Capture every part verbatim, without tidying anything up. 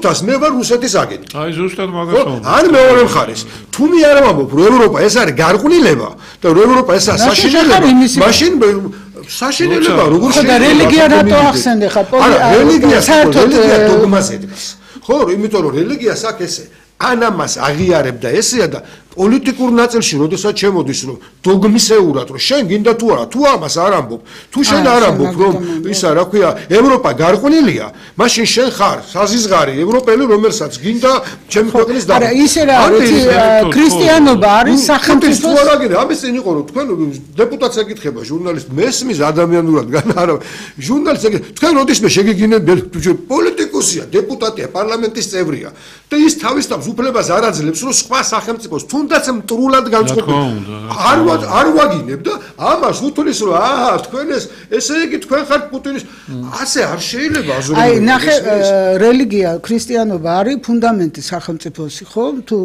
თას მე ვარ რუსეთის აგენტი. აი ზუსტად მაგას ვამბობ. ან მეორე მხარეს, თუ მე არ ვამბობ, რომ ევროპა ეს არის გარყვნილება და რომ ევროპა ესაა საშინელება, მაშინ საშინელება როგორ შეიძლება? და რელიგია რატო ახსენე ხა? არა, რელიგია რელიგია დოგმაზე დგას. ხო, იმიტომ რომ რელიგიას აქ ესე ან ამას აღიარებდა ესეა და პოლიტიკურ ნაწილში, როდესაც შემოდის, რომ დოგმისეურად, რომ შენ გინდა თუ არა, თუ ამას არ ამბობ, თუ შენ არ ამბობ, რომ ისა, რა ქვია, ევროპა გარყვნილია, მაშინ შენ ხარ საზიზღარი ევროპელი, რომელსაც გინდა ჩემი ქვეყნის და არა, ისე რა, ქრისტიანობა არის სახელმწიფოს თუ არა გინდა, ამის წინ იყო, რომ თქვენ დეპუტატს ეკითხება, ჟურნალისტ მესმის ადამიანურად გან არა, ჟურნალისტს ეკითხება, თქვენ როდისმე შეგიგინეთ პოლიტიკოსია, დეპუტატია, პარლამენტის წევრია და ის თავის თავს უფლებას არ აძლევს, რომ სხვა სახელმწიფოს თუნდაც მტრულად განწყობილ არ არ ვაგინებ და ამას უთulis რომ აჰა თქვენ ეს ესე იგი თქვენ ხართ პუტინის ასე არ შეიძლება აზროვნებრივ აი ნახე რელიგია ქრისტიანობა არის ფუნდამენტი სახელმწიფოსი ხო თუ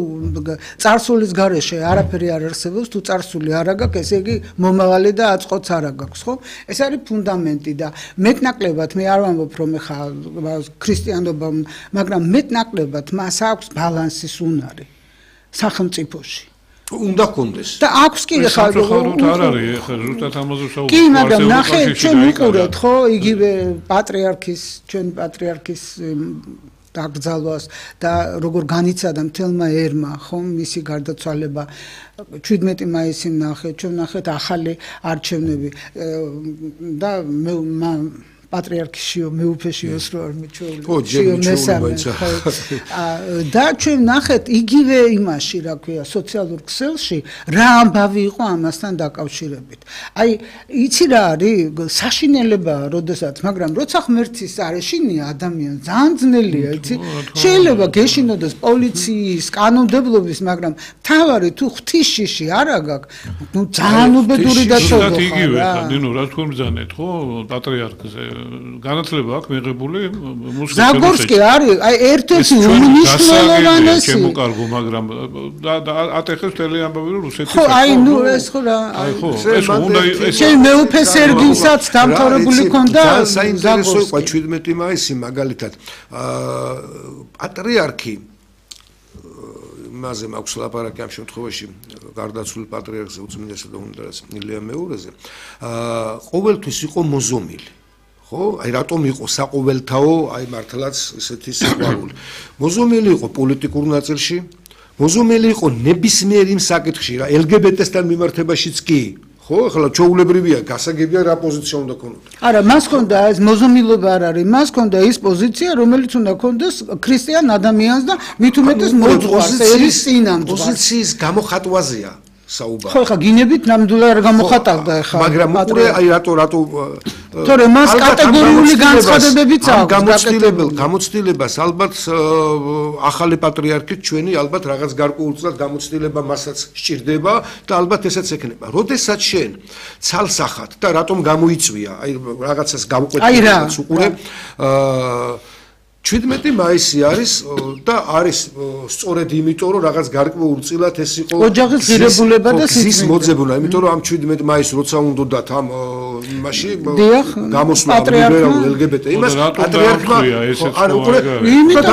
წარსულის გარეშე არაფერი არ არსებობს თუ წარსული არ აქვს ესე იგი მომავალი და აწყოც არ აქვს ხო ეს არის ფუნდამენტი და მეტნაკლებად მე არ ვამბობ რომ ეხა ქრისტიანობა მაგრამ მეტნაკლებად მას აქვს ბალანსის უნარი სახელმწიფოში უნდა კონდეს და აქვს კი ხა არ არის ხა ზუსტად ამაზე საუბარი კი მაგრამ ნახე ჩვენ ვიყურეთ ხო იგივე პატრიარქის ჩვენ პატრიარქის დაკრძალვას და როგორ განიცადა მთელმა ერმა ხო მისი გარდაცვალება შვიდმეტი მაისი ნახე ჩვენ ნახეთ ახალი არჩევნები და მე პატრიარქიო მეუფეშიოს რო არ მიჩვეულ შიო მესამე და ჩვენ ნახეთ იგივე იმაში რა ქვია სოციალურ ქსელში რა ამბავი იყო ამასთან დაკავშირებით აი იცი რა არის საშინელებაა როდესაც მაგრამ როცა ღმერთის არ ეშინია ადამიანს ძალიან ძნელია იცი შეიძლება გეშინოდეს პოლიციის კანონმდებლობის მაგრამ თავარი თუ ღვთის შიში არ აგაკ ნუ ძალიან უბედური და ცოდო იგივე ხა ნინო რა თქვენ ბრძანეთ ხო პატრიარქზე განათლება აქვს მიღებული მუსლიმ ზაგორსკი არის აი ერთ-ერთი უმნიშვნელოვანესი ჩემო კარგო მაგრამ და ატეხეს მთელი ამბავი რომ რუსეთის ხო აი ნუ ეს ხო რა აი ხო ეს უნდა ეს შენ მეუფე სერგინსაც დამთავრებული ქონდა საინტერესო იყო შვიდმეტი მაისი მაგალითად პატრიარქი მასე მაქვს ლაპარაკი ამ შემთხვევაში გარდაცვლილ პატრიარქზე უწმინდესად უნდას ილია მეურეზე ყოველთვის იყო მოზომილი ხო აი რატომ იყო საყოველთაო აი მართლაც ესეთი სიყვარული მოზომილი იყო პოლიტიკურ ნაწილში მოზომილი იყო ნებისმიერ იმ საკითხში რა ელ გი ბი ტე-სთან მიმართებაშიც კი ხო ახლა ჩაულებრივია გასაგებია რა პოზიცია უნდა ქონოდა არა მას ქონდა ეს მოზომილობა არ არის მას ქონდა ის პოზიცია რომელიც უნდა ქონდეს ქრისტიან ადამიანს და მით უმეტეს მოძღვარს ერის წინამდე პოზიციის გამოხატვაზეა საუბარი ხო ხა გინებით ნამდვილად არ გამოხატავდა ხა მაგრამ უყურე აი რატო რატო თორე მას კატეგორიული განცხადებებიც აქვს გამოცდილებელ გამოცდილებას ალბათ ახალი პატრიარქით ჩვენი ალბათ რაღაც გარკვეულწილად გამოცდილება მასაც სჭირდება და ალბათ ესაც ექნება როდესაც შენ ცალსახად და რატომ გამოიწვია აი რაღაცას გავუკვეთილებს უყურე აა შვიდმეტი მაისი არის და არის სწორედ იმიტომ რომ რაღაც გარკვეულწილად ეს იყო ოჯახის ღირებულება და სიცოცხლის მოძებნა იმიტომ რომ ამ შვიდმეტი მაისს როცა უნდათ ამ იმაში გამოსვლა ლიბერალურ ელ გი ბი ტე იმას პატრიარქმა არ უყურე იმიტომ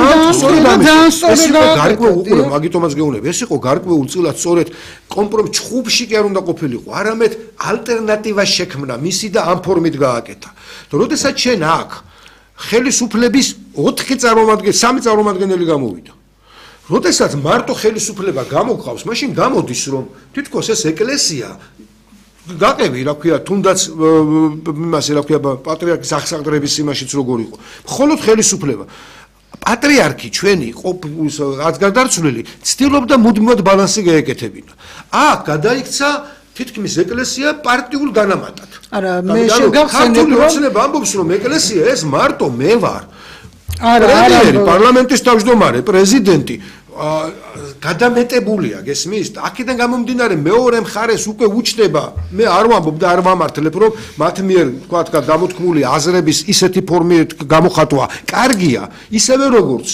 და გარკვეულ მაგიტომაც გეუბნები ეს იყო გარკვეულწილად სწორედ კომპრომის ჩხუბში კი არ უნდა ყოფილიყო არამედ ალტერნატივა შექმნა მისი და ამ ფორმით გააკეთა და როდესაც შენ აქ ხელისუფლების ოთხი წარმომადგენელი, სამი წარმომადგენელი გამოვიდა. როდესაც მარტო ხელისუფლება გამოგყავს, მაშინ გამოდის რომ თითქოს ეს ეკლესია გაყევი, რა ქვია, თუნდაც იმასე, რა ქვია, პატრიარქის აღსაყდრების იმაშიც როგორ იყო. მხოლოდ ხელისუფლება პატრიარქი ჩვენი რაც გადარცვლილი, ცდილობდა მუდმივად ბალანსი გაეკეთებინა. აქ გადაიქცა თითქმის ეკლესია პარტიულ დანამატად. არა, მე შეგახსენებ რომ ოცნება ამბობს რომ ეკლესია ეს მარტო მე ვარ. არა, არა, პარლამენტის თავმჯდომარე, პრეზიდენტი გადამეტებულია, გესმის? აქედან გამომდინარე მეორე მხარეს უკვე უჩნდება, მე არ ვამბობ და არ ვამართლებ, რომ მათ მიერ, თქვათ, გამოთქმული აზრების ისეთი ფორმით გამოხატვა კარგია, ისევე როგორც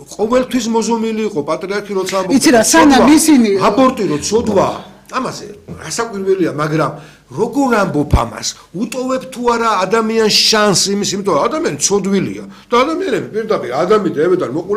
ყოველთვის მოზომილი იყო პატრიარქი როცა ამბობს. იცი რა, სანამ ისინი აბორტი რო ცოდვა ამაზე რასაკვირველია, მაგრამ როგორ ამბობ ამას? უტოვებ თუ არა ადამიანს შანსს იმის, იმიტომ რომ ადამიანი ცოდვილია და ადამიანები პირდაპირ ადამიანებიდან მოყოლ